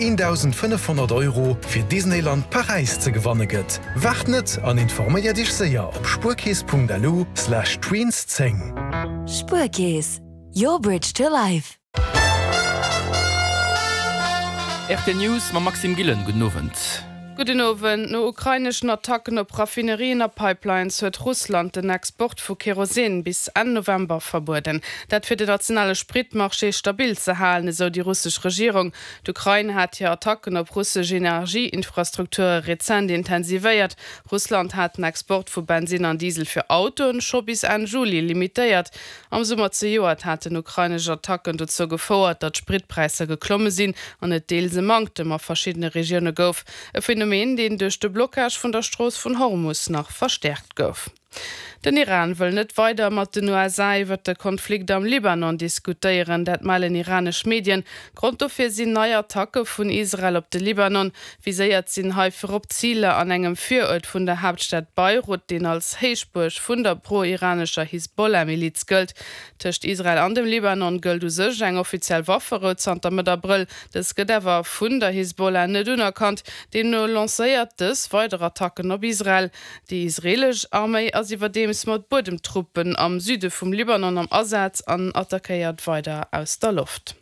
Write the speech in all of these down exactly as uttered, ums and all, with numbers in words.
eendausendfënnefhonnert Euro fir Disneyland Paräis ze gewanne gëtt. Waart net an informéier Iech séier op spuerkeess punkt lu slash tweens zéng. Spuerkeess, your bridge to life. R T L News mam Maxime Gillen. Gudden Owend. Gudden Owend. No ukraineschen Attacken op Raffinerien a Pipelines huet Russland den Export vu Kerosin bis Enn November verbueden. Dat fir den nationale Spritmarché stabil ze halen, esou déi russesch Regierung. D'Ukrain hat hir Attacken op russesch Energieinfrastrukture rezent intensivéiert. Russland hat den Export vu Bensin an Diesel fir Autoen scho bis Enn Juli limitéiert. Am Summer zejoert haten ukrainesch Attacken dozou gefouert, datt d'Spritpräisser geklomme sinn an et deels e Manktem a verschiddene Regioune gouf. E Phänomen, deen duerch de Blockage vun der Strooss vun Hormus nach verstäerkt gouf. Den Iran wëll net weider mat den U S A iwwer de Konflikt am Libanon diskutéieren, dat mellen iranesch Medien. Grond dofir sinn nei Attacke vun Israel op de Libanon. Viséiert sinn hei virop Ziler an engem Viruert vun der Haaptstad Beirut, deen als Héichbuerg vun der pro-iranescher Hisbollah-Miliz gëllt. Tëscht Israel an dem Libanon gëllt u sech eng offiziell Wafferou zanter Mëtt Abrëll. Dës gëtt awer vun der Hisbollah net unerkannt. Deemno lancéiert dës weider Attacken op Israel. Déi israeelesch Arméi ass iwwerdeems mat Buedemtruppen am Süde vum Libanon am Asaz an attackéiert weider aus der Loft.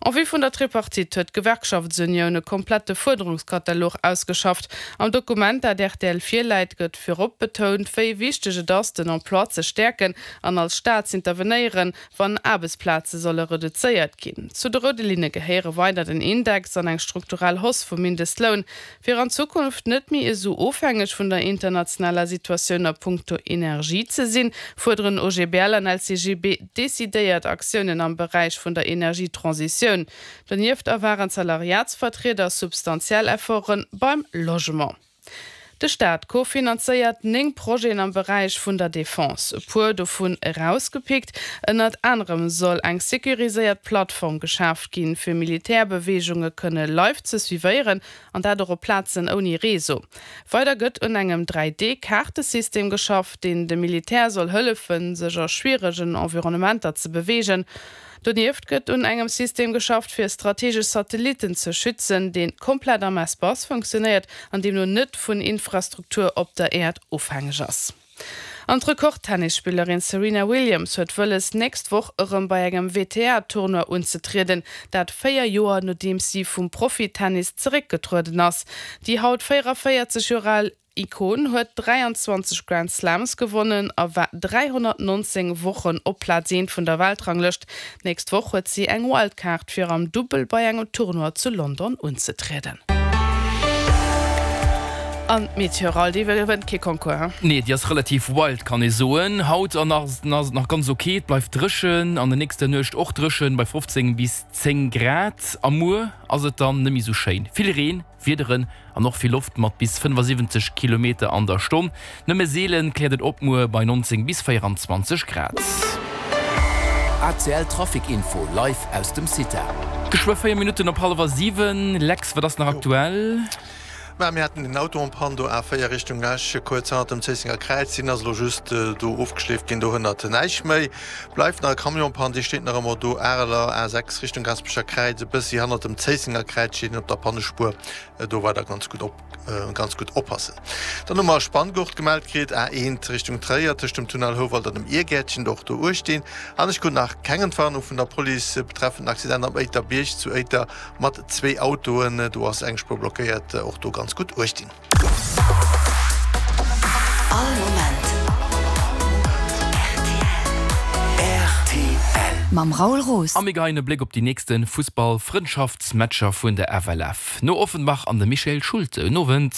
En vue vun der Tripartite huet d'Gewerkschaftsunioun e komplette Fuerderungskatalog ausgeschafft. Am Dokument, dat R T L virläit, gëtt virop betount, wéi wichteg et ass, den Emploi ze stäerken an als Staat z'intervenéieren, wann Aarbechtsplaze solle reduzéiert ginn. Zu de roude Linne gehéiere weider den Index an eng strukturell Hausse vum Mindestloun. Fir an Zukunft net méi esou ofhängeg vun der internationaler Situatioun a punkto Energie ze sinn, fuerderen O G B L an L C G B decidéiert Aktiounen am Beräich vun der Energietransitioun. Donieft erwaarden d'Salariatsvertrieder substantiell Efforte beim Logement. De Staat kofinanzéiert néng Projeten am Beräich vun der Defense. E puer dovun erausgepickt: Ënnert anerem soll eng securiséiert Plattform geschaaft ginn, fir Militärbeweegunge kënne live ze suivéieren, an dat och op Plazen ouni Réseau. Weider gëtt un engem dräi D-Kaartesystem geschafft, deen dem Militär soll hëllefen, sech a schwieregen Environnementer ze beweegen. Donieft gëtt un engem System geschafft, fir strategesch Satellitten ze schützen, dee komplett am Espace funktionéiert an deemno net vun Infrastruktur op der Äerd ofhängeg ass. An d'Rekord-Tennisspillerin Serena Williams huet wëlles, nächst Woch erëm bei engem W T A-Tournoi unzetrieden, dat véier Joer nodeems si vum Profitennis zeréckgetrueden ass. Déi haut véierunvéierzeg Joer al Ikon huet dräianzwanzeg Grand Slams gewonnen a war dräihonnertnonzéng Wochen op Plaz eent vun der Weltranglëscht. Nächst Woch huet si eng Wildcard fir am Dubbel bei engem Tournoi zu London unzetrieden. An d'Meteo, déi gewënnt kee Concours. Nee, déi ass relativ wild, kann ee soen. Haut an ass et nach ganz ok, et bleift dréchen, an der nächster Nuecht och dréchen bei fofzéng bis zéng Grad. A muer ass et dann net méi sou schéin. Vill Reen, Wiederen an och vill Loft mat bis fënnefasiwwenzeg Kilometer an der Stonn. Nëmme seelen kläert et op muer bei nonzéng bis véierunzwanzeg Grad. A C L Trafic Info live aus dem CITA. Geschwë véier Minutten op hallwer siwen. Lex, wat ass nach aktuell? Mä mir haten den Auto en panne do A véier Richtung Esch, kuerz hannert dem Zéissenger Kräiz. Deen ass elo just do ofgeschleeft ginn, do hënnert näischt méi. Bleift nach e Camion en panne, dee steet nach ëmmer do Areler A sechs Richtung Gaasperecher Kräiz, e bëssi hannert dem Zéissenger Kräiz steet en op der Pannespuer. Do weider ganz gutt op ganz gutt oppassen. Dann hu mer e Spanngurt gemellt kritt, A eent Richtung Tréier tëscht dem Tunnel Houwald an dem Irgäertchen, och do uecht dinn. An ech krut nach keng Entwarnung vun der Police betreffend den Accident am Éiterbierg zu Éiter mat zwee Autoen. Do ass eng Spuer blockéiert, och do ganz gutt uecht dinn. All Moment R T L. Mam Raoul Roos. A mir geheien e Bléck op déi nächste Fussball-Frëndschaftsmatcher vun der F L F. No Offenbach an de Michael Schulte. Gudden Owend.